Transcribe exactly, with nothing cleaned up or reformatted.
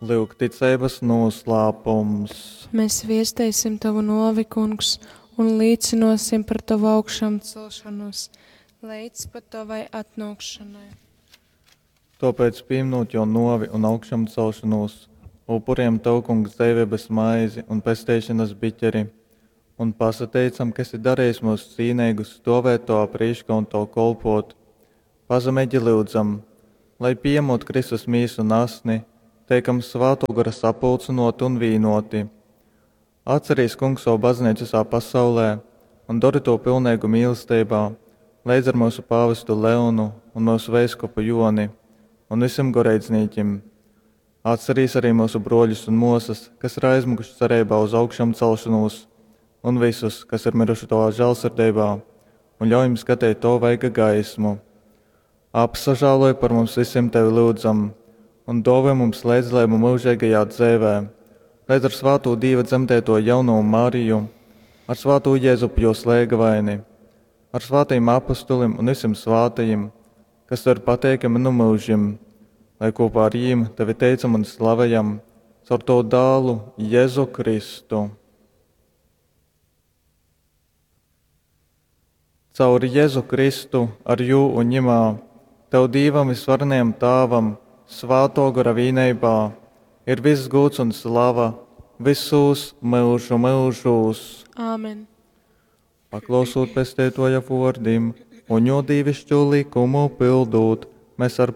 Lyuk ticeibas noslēpums. Mēs viesteisim tavu novi, kungs, un līcinosim par tavu augšām celšanos, līdz pat tavai atnākšanai. Tāpēc, pieminot jo novi un augšām celšanos, upuriem tev, kungs, dzīvības maizi un pestīšanas biķeri, un pasateicam, ka esi darījis mūs cīnīgus stovēt tavā prīškā un tev kolpot. Pazemīgi lūdzam, lai pieņemot Kristus mīsu un asni, teikam svēto gara sapulcinoti un vīnoti. Atcerīs, kungs, savu baznīcu visā pasaulē un dari to pilnīgu mīlestībā, līdz ar mūsu pāvestu Leonu un mūsu veiskupu Joni un visiem goreidznīķim. Atcerīs arī mūsu broļus un mosas, kas ir aizmukuši cerībā uz augšām celšanos, un visus, kas ir miruši tavā žēlsirdībā, un ļauj jums skatīt to vaiga gaismu. Apsažāloj par mums visiem tevi lūdzam, un dāvā mums līdzdalību mūžīgajā dzīvē, līdz ar svāto Dieva dzemdēto jauno Mariju, ar svāto Jēzupu jo slēgavaini, ar svātajiem apustulim un visiem svātajiem, kas tev ir pateikami nu mūžim, lai kopā ar jīm tevi teicam un slavējam caur tavu dālu Jēzu Kristu. Caur Jēzu Kristu, ar jū un ņemā, tev Dīvam visvarenajam Tāvam, svāto gara vīneibā, ir viss gūts un slava visos mūžu mūžos. Āmen. Paklausot pestētoja vārdim un jo dīvišķo likumu pildot, mēs ar